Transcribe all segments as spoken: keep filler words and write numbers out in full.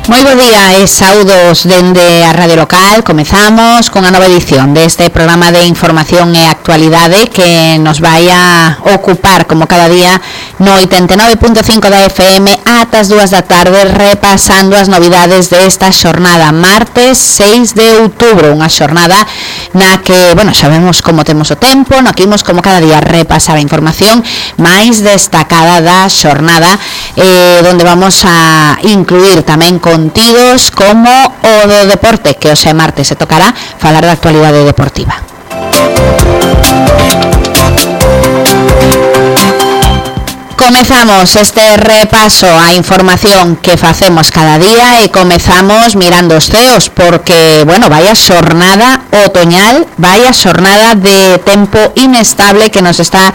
Moi bo día e saudos dende a Radio Local. Comezamos con a nova edición deste programa de información e actualidade que nos vai a ocupar como cada día no oitenta e nove punto cinco da F M ata as dúas da tarde, repasando as novidades desta xornada martes seis de outubro, unha xornada na que, bueno, sabemos como temos o tempo, no que imos como cada día repasar a información máis destacada da xornada, eh, donde vamos a incluir tamén contidos como o do deporte, que hoxe martes se tocará falar da actualidade deportiva. Comezamos este repaso á información que facemos cada día e comezamos mirando os ceos porque, bueno, vai a xornada otoñal, vai a xornada de tempo inestable que nos está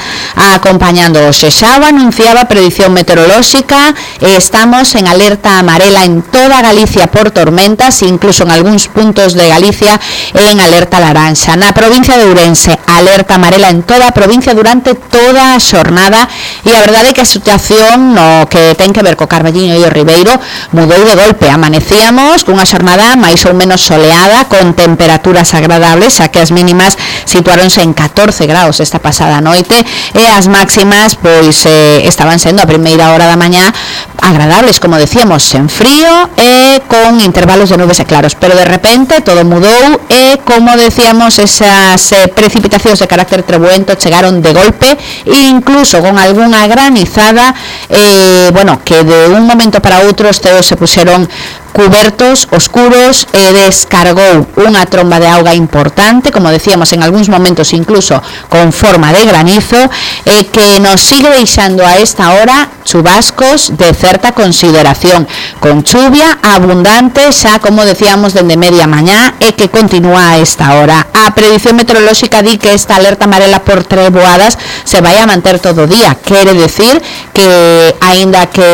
acompañando hoxe. Xa o anunciaba a predición meteorolóxica, estamos en alerta amarela en toda Galicia por tormentas, incluso en algúns puntos de Galicia en alerta laranxa. Na provincia de Ourense, alerta amarela en toda a provincia durante toda a xornada, e a verdade é que a situación no que ten que ver co Carballiño e o Ribeiro mudou de golpe. Amanecíamos cunha xornada máis ou menos soleada con temperaturas agradables, xa que as mínimas situáronse en catorce graus esta pasada noite e as máximas pois eh, estaban sendo a primeira hora da mañá agradables, como decíamos, sen frío e con intervalos de nubes e claros, pero de repente todo mudou e, como decíamos, esas eh, precipitacións de carácter trebuento chegaron de golpe, incluso con algunha granizada, eh, bueno, que de un momento para outro os ceos se puxeron cubertos, oscuros, e descargou unha tromba de auga importante, como decíamos, en algúns momentos incluso con forma de granizo, e que nos sigue deixando a esta hora chubascos de certa consideración, con chuvia abundante xa, como decíamos, dende media mañá e que continúa a esta hora. A predición meteorolóxica di que esta alerta amarela por treboadas se vai a manter todo o día, quere decir que aínda que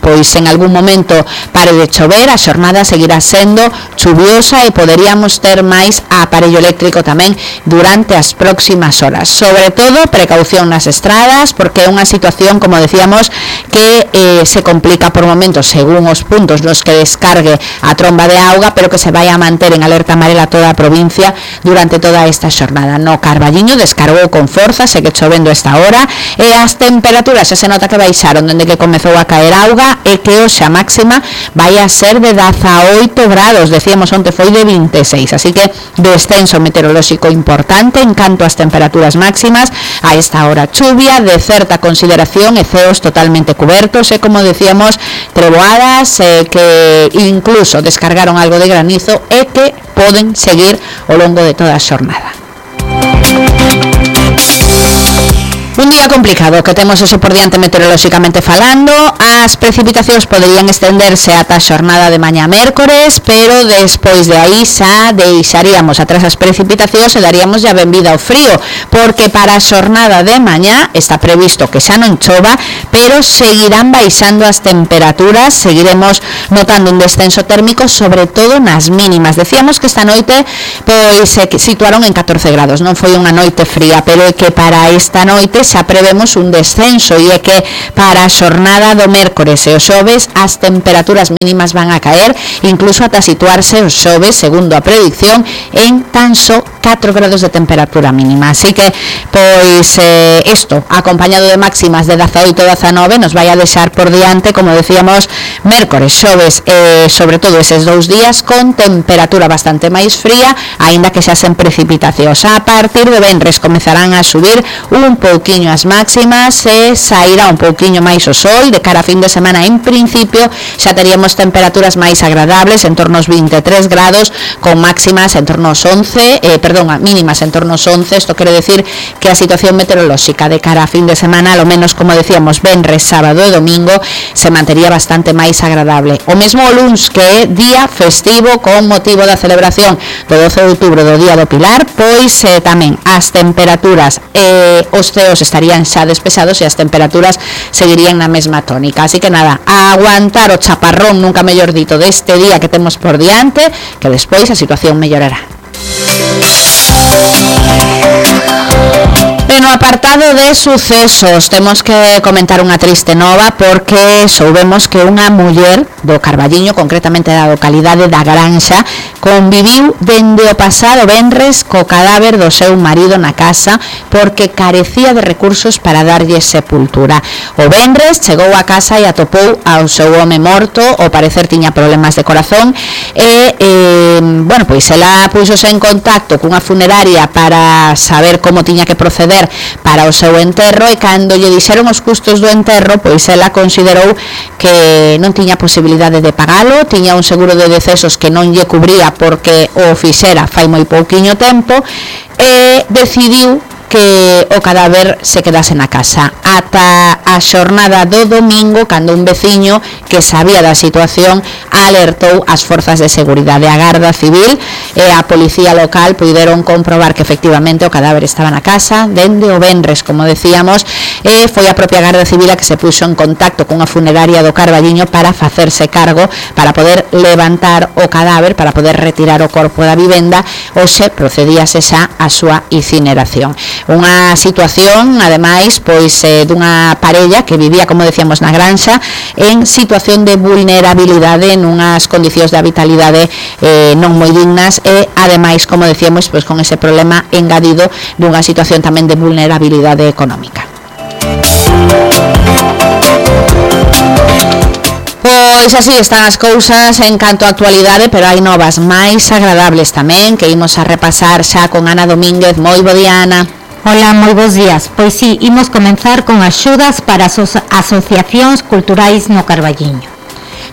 pois en algún momento pare de chover, a xornada seguirá sendo chuviosa e poderíamos ter máis aparello eléctrico tamén durante as próximas horas. Sobre todo, precaución nas estradas, porque é unha situación, como decíamos, que eh, se complica por momentos según os puntos nos que descargue a tromba de auga, pero que se vai a manter en alerta amarela toda a provincia durante toda esta xornada. No Carballiño descargou con forza, segue chovendo esta hora, e as temperaturas xa se nota que baixaron dende que comezou a caer auga, e que hoxe a máxima vai a ser de dezaoito grados, decíamos onte foi de vinte e seis, así que descenso meteorolóxico importante en canto ás temperaturas máximas. A esta hora chuvia de certa consideración e ceos totalmente cubertos, e como decíamos, treboadas eh, que incluso descargaron algo de granizo e que poden seguir ao longo de toda a xornada. Un día complicado que temos hoxe por diante meteorolóxicamente falando. As precipitacións poderían estenderse ata a xornada de mañá mércores, pero despois de aí xa deixaríamos atrás as precipitacións e daríamos ya benvida ao frío, porque para a xornada de mañá está previsto que xa non chova, pero seguirán baixando as temperaturas, seguiremos notando un descenso térmico, sobre todo nas mínimas. Decíamos que esta noite pois se situaron en catorce grados, non foi unha noite fría, pero é que para esta noite xa prevemos un descenso, e é que para a xornada do mércores e o xoves as temperaturas mínimas van a caer, incluso ata situarse o xoves, segundo a predicción, en tan só catro grados de temperatura mínima. Así que, pois, eh, isto, acompañado de máximas de dezaoito a dezanove, nos vai a deixar por diante, como decíamos, mércores, xoves, eh, sobre todo eses dous días, con temperatura bastante máis fría, aínda que xa sen precipitacións. A partir de venres comezarán a subir un pouquiño as máximas e sairá un pouquiño máis o sol. De cara a fin de semana, en principio, xa teríamos temperaturas máis agradables, en torno aos vinte e tres grados, con máximas en torno aos once, eh, perdón, mínimas en torno aos once. Isto quere decir que a situación meteorolóxica de cara a fin de semana, ao menos, como decíamos, venres, sábado e domingo, se mantería bastante máis agradable. O mesmo o luns, que é día festivo con motivo da celebración do doce de outubro, do Día do Pilar, pois eh, tamén as temperaturas e eh, os ceos estarían xa despexados e as temperaturas seguirían na mesma tónica. Así que nada, a aguantar o chaparrón, nunca mellor dito, deste día que temos por diante, que despois a situación mellorará. En no apartado de sucesos temos que comentar unha triste nova porque soubemos que unha muller do Carballiño, concretamente da localidade da Granxa, conviviu dende o pasado venres co cadáver do seu marido na casa porque carecía de recursos para darlle sepultura. O venres chegou a casa e atopou ao seu home morto, ao parecer tiña problemas de corazón e, eh, bueno, pois ela puxose en contacto cunha funeraria para saber como tiña que proceder para o seu enterro e cando lle dixeron os custos do enterro, pois ela considerou que non tiña posibilidade de pagalo, tiña un seguro de decesos que non lle cubría porque o fixera fai moi pouquiño tempo e decidiu que o cadáver se quedase na casa ata a xornada do domingo, cando un veciño que sabía da situación alertou as forzas de seguridade. A Garda Civil e a policía local puideron comprobar que efectivamente o cadáver estaba na casa dende o venres, como decíamos, e foi a propia Garda Civil a que se puxo en contacto cunha funeraria do Carballiño para facerse cargo, para poder levantar o cadáver, para poder retirar o corpo da vivenda, ou se procedíase xa a súa incineración. Unha situación, ademais, pois eh, dunha parella que vivía, como decíamos, na Granxa en situación de vulnerabilidade, nunhas condicións de vitalidade eh, non moi dignas e, ademais, como decíamos, pois con ese problema engadido dunha situación tamén de vulnerabilidade económica. Pois así están as cousas en canto a actualidade, pero hai novas máis agradables tamén que imos a repasar xa con Ana Domínguez. Moi bo día, Ana. Hola, moi bons días. Pois sí, imos comenzar con axudas para as asociacións culturais no Carballiño.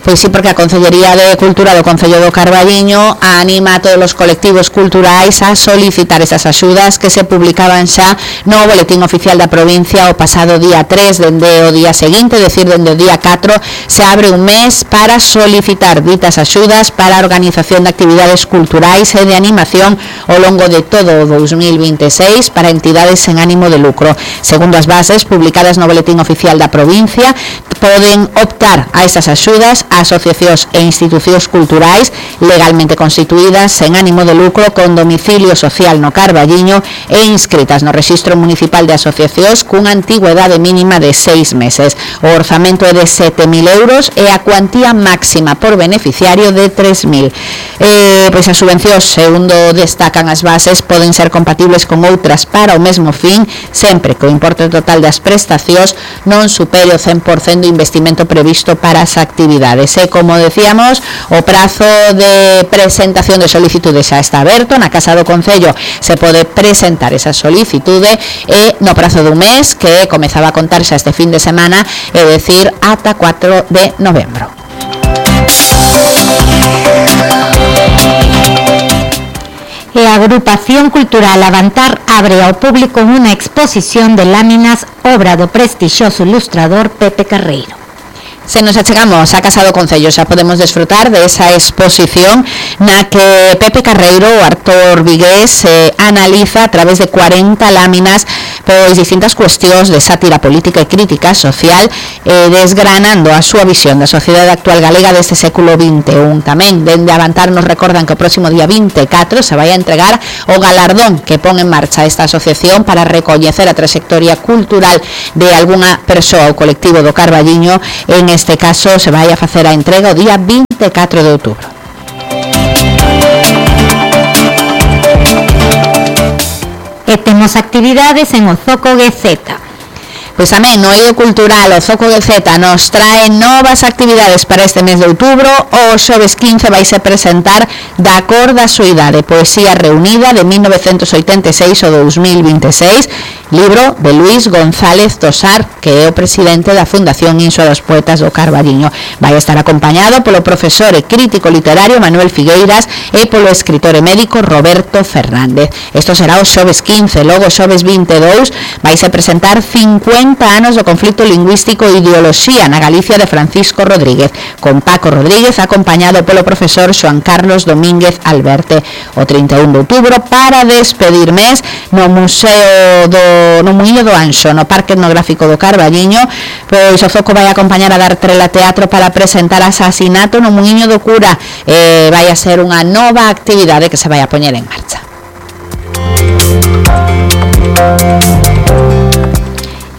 Pois sí, porque a Concellería de Cultura do Concello do Carballiño anima a todos os colectivos culturais a solicitar esas axudas que se publicaban xa no Boletín Oficial da Provincia o pasado día tres, dende o día seguinte, decir, dende o día catro, se abre un mes para solicitar ditas axudas para a organización de actividades culturais e de animación ao longo de todo o dos mil veintiséis para entidades sen ánimo de lucro. Segundo as bases publicadas no Boletín Oficial da Provincia, poden optar a esas axudas a asociacións e institucións culturais legalmente constituídas sen ánimo de lucro con domicilio social no Carballiño e inscritas no Rexistro Municipal de Asociacións cunha antigüedade mínima de seis meses. O orzamento é de sete mil euros e a cuantía máxima por beneficiario de tres mil. Eh, pois as subvencións, segundo destacan as bases, poden ser compatibles con outras para o mesmo fin, sempre que o importe total das prestacións non supere o cen por cento do investimento previsto para as actividades. E, como decíamos, o prazo de presentación de solicitude xa está aberto. Na Casa do Concello se pode presentar esa solicitude e no prazo dun mes, que comezaba a contar xa este fin de semana, é dicir, ata cuatro de novembro. E a Agrupación Cultural Avantar abre ao público unha exposición de láminas obra do prestixioso ilustrador Pepe Carreiro. Se nos achegamos a Casa do Concello xa podemos desfrutar de esa exposición na que Pepe Carreiro, o actor vigués, eh, analiza a través de cuarenta láminas pois distintas cuestións de sátira política e crítica social, eh, desgranando a súa visión da sociedade actual galega deste século vinte e un. Tamén, dende Avantar, nos recordan que o próximo día vinte e catro se vai a entregar o galardón que pon en marcha esta asociación para recoñecer a trayectoria cultural de algunha persoa ou colectivo do Carballiño. En este caso se vai a facer a entrega o día vinte e catro de outubro. E temos actividades en o Zoco Guezeta. Pois tamén no eido cultural o Zoco Guezeta nos trae novas actividades para este mes de outubro. O xoves quince vai se presentar Da cor da soidade, poesía reunida de mil novecentos oitenta e seis ao dos mil vinte e seis, libro de Luis González Tosar, que é o presidente da Fundación Inso dos Poetas do Carballiño. Vai estar acompañado polo profesor e crítico literario Manuel Figueiras e polo escritor e médico Roberto Fernández. Isto será o xoves quince. Logo o xoves vinte e dous vai se presentar cincuenta anos do conflito lingüístico e ideoloxía na Galicia de Francisco Rodríguez, con Paco Rodríguez acompañado polo profesor Xoan Carlos Domínguez Alberte. O trinta e un de outubro, para despedir mes, no Museo do no Muíño do Anxo, no Parque Etnográfico do Carballiño, pois o Zoco vai acompañar a dar Trela Teatro para presentar Asasinato no Muíño do Cura. Eh, vai a ser unha nova actividade que se vai a poñer en marcha.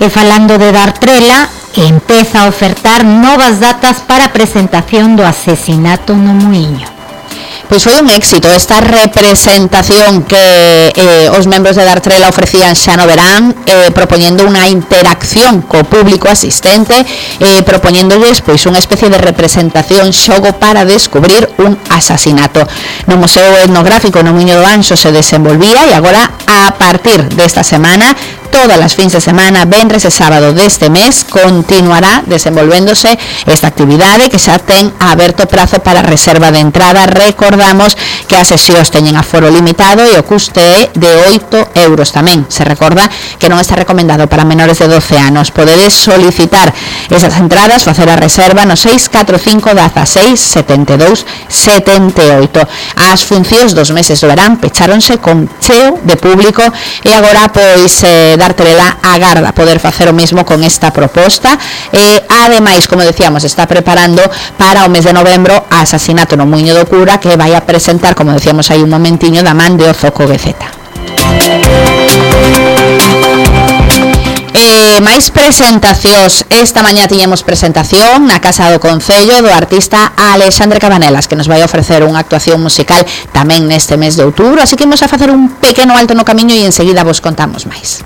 E falando de Dartrela, empeza a ofertar novas datas para a presentación do asesinato no Muiño. Pois foi un éxito esta representación que eh, os membros de Dartrela ofrecían xa no verán, eh, propoñendo unha interacción co público asistente, eh, propoñéndolles pois unha especie de representación xogo para descubrir un asasinato. No Museo Etnográfico no Muiño do Anxo se desenvolvía e agora a partir desta semana todas as fins de semana, venres e sábado deste mes, continuará desenvolvéndose esta actividade que xa ten aberto prazo para reserva de entrada. Recordamos que as sesións teñen aforo limitado e o custe é de oito euros tamén. Se recorda que non está recomendado para menores de doce anos. Podedes solicitar esas entradas, facer a reserva no seis catro cinco dieciséis setenta e dous setenta e oito. As funcións dos meses do verán pecháronse con cheo de público e agora pois eh, Dartrela agarda poder facer o mesmo con esta proposta e ademais, como decíamos, está preparando para o mes de novembro a Asasinato no Muiño do Cura, que vai a presentar, como decíamos aí un momentiño, da man de Ozoco Gueceta. E máis presentacións. Esta mañá tiñemos presentación na Casa do Concello do artista Alexandre Cabanelas, que nos vai ofrecer unha actuación musical tamén neste mes de outubro, así que imos a facer un pequeno alto no camiño e enseguida vos contamos máis.